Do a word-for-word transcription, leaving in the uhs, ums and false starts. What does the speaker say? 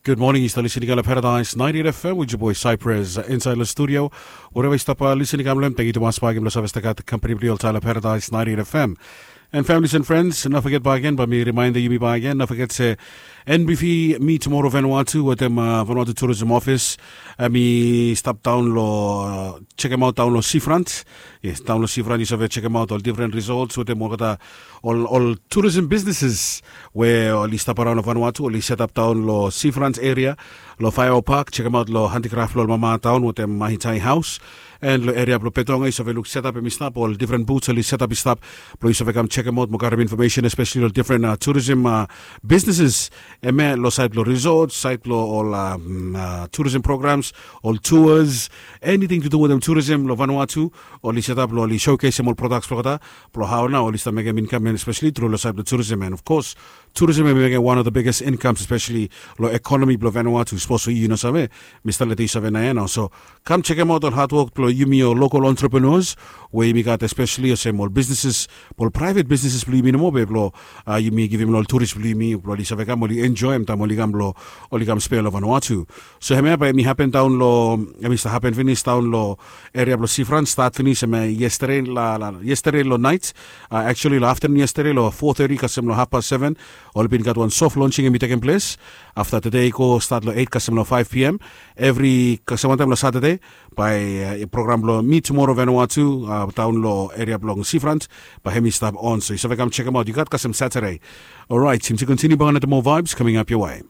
Good morning, yu stap listening lo Paradise ninety-eight F M with your boy Cypress, uh, inside lo studio. Wherever yu stap, uh, listening kam lo hem, thank you tumas bakegen blo save stap gat company blo yu oltaem lo Paradise ninety-eight F M. And families and friends, no forget bakegen, bae mi remind yumi bakegen, no forget se N B V Meet Tomorrow Vanuatu wetem, uh, Vanuatu Tourism Office, uh, hemi stap daon lo, uh, check hemaot daon lo seafront. Yes, daon lo seafront yu save check hemaot ol different resorts wetem olgeta ol, ol tourism businesses we oli stap araon lo Vanuatu, oli set up daon lo seafront area, lo Faiva Park, check hemaot lo handicraft blo ol mama daon wetem Mahitai House. And lo area blo Betonga yu save luk set up hemi stap, ol different booths oli set up i stap blo yu save kam check hemaot mo karem information, especially lo different, uh, tourism, uh, businesses. Hemia lo side blo resort, side blo ol, um, uh, tourism programs, ol tours, anything to do wetem tourism lo Vanuatu, oli set up lo oli showcase hem ol products blo olgeta, blo hao nao oli stap mekem income, and especially tru lo side blo tourism, and of course tourism hemi mekem one of the biggest incomes, especially lo economy blo Vanuatu. Sapos yu no save, mi stap letem yu save naoia nao. So kam check hemaot ol hard work blo yumi ol local entrepreneurs we yumi gat, especially olsem ol businesses, ol private businesses blo yumi nomo be blo, uh, yumi givim lo ol tourist blo yumi blo oli save kam, oli enjoy hem taem oli kam blo, oli kam spea lo Vanuatu. So hemia bae hemi happen daon lo, hemi stap happen finis daon lo area blo seafront, start finis hemia yesterday, la, la, yesterday lo night, uh, actually lo afternoon yesterday lo four thirty kasem lo half past seven, oli bin gat wan soft launching hemi tekem ples. Afta tede i go start lo eight kasem lo five P M evri kasem wantaem lo Saturday, bae, uh, program blo Meet Tomorrow Vanuatu, uh, daon lo area blong seafront, bae hemi stap on. So yu save kam check hemaot, yu gat kasem Saturday. Alright, yumi continue bakegen wetem moa vibes coming up your way.